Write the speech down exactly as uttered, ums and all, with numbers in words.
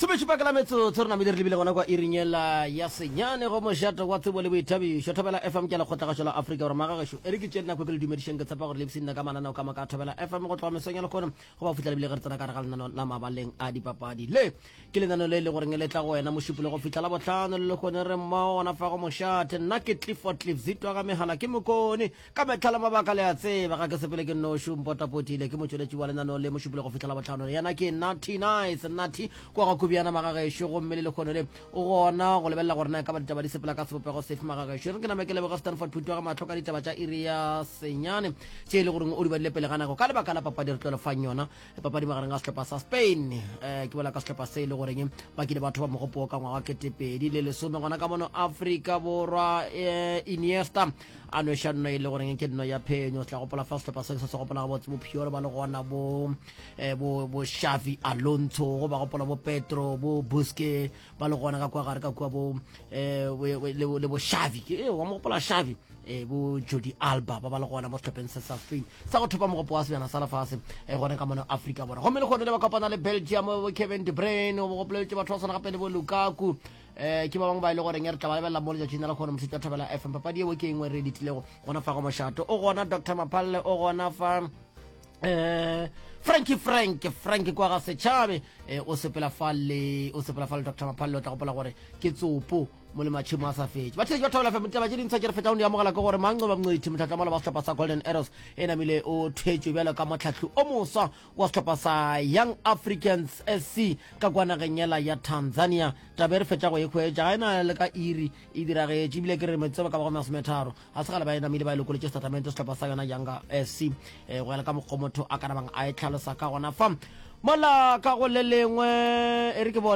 Somešupa ka la metsotso re namile re lebile gona kwa iring yela ya senyane go mošate wa tsebo le boithabišo Thobela F M ke lekgotlagašo la Afrika Borwa. Magagešo, e re ke tšee nako ke le dumedišeng, ke tshepa gore le ipshinne ka mananeo ka moka a Thobela F M go tloga mesong ya lehono go ba fihla lebile ge re tsena ka gare ga lenaneo la mabaleng a dipapadi. Le ke lenaneo le e le goreng le tla go wena Mošupologo go fihla la bohlano le lehono re mmogo gona fa go mošate. Nna ke Clifford Cliff Zitwa ga megala ke mokone ka mehla le mabaka, le a tseba ga ke sepele ke nnoši, o mpotapotile ke motšweletši wa lenaneo le Mošupologo go fihla la bohlano, yena ke Natty Nice Natty kwa ga Kubiana magagešo, gomme le lekgono le o gona go lebelela gore na e ka ba ditaba di sepela ka sebopego sefe. Magagešo, re ke name ke leboge Stanford Phuti wa ga mahlo ka ditaba tša iri ya senyane tše e le goreng o di badile pele ga nako ka lebaka la papadi re tlo le fang yona, papadi magareng ga sehlopha sa Spain, um ke bolela ka sehlopha se e le goreng ba kile batho ba mogopo ka ngwaga ketepedi le lesome gona ka mono Afrika Borwa, um Iniesta a nweša nno e le goreng ke nno ya phenyo. Tla gopola fa sehlopha se se se gopola gabotse bo Piolo ba le gona, bo eh, bo bo Xavi Alonso, go ba gopola bo Petro, bo Busque ba le gona ka kua gare ka kua, bo eh, le le bo Xavi, ke wa mo gopola Xavi, eh, bo Jordi Alba ba ba le gona mo sehlopheng se sa Spain sa go thopa mogopo wa sebjana sa lefase eh, gona ka mono Afrika Borwa, gomme le kgone le ba kopana le Belgium, bo Kevin De Bruyne, bo gopoleletše batho ba swana gape le bo Lukaku, eh ke ba bangwe ba e le goreng re tla ba lebelela mo letšatšing la kgone mošetša Thobela F M. Papadi eo ke engwe re ditilego gona fa go mošato. O gona Doctor Maphalle, o gona fa eh Frankie, Frank, Frank kwa ga setšhabe, eh, o sepela fa le o sepela fa le Doctor Maphalle. O tla gopola gore ke tsopo mo le matšhemo a sa fetše. Batheletši ba Thobela F M, ditaba tše dintshwa tše re fetšago di amogela ke gore Manqoba Mngqithi, motlhatlamolo wa sehlopha sa Golden Arrows, e namile o thwetšwe bjalo ka motlhahli o moswa wa sehlopha sa Young Africans S C ka kwa nageng yela ya Tanzania. Taba e re fetša go e hwetša ga e na le ka iri e diragetše, ebile ke re metsotso ka ba go masometharo ga se gale ba e namile ba e lokoletše setatamente sehlopha sa yona Yanga S C, um go ya le ka mokgwa motho a ka nabang a e tlhalosa ka gona fa mola ka go le lengwe e re ke bone.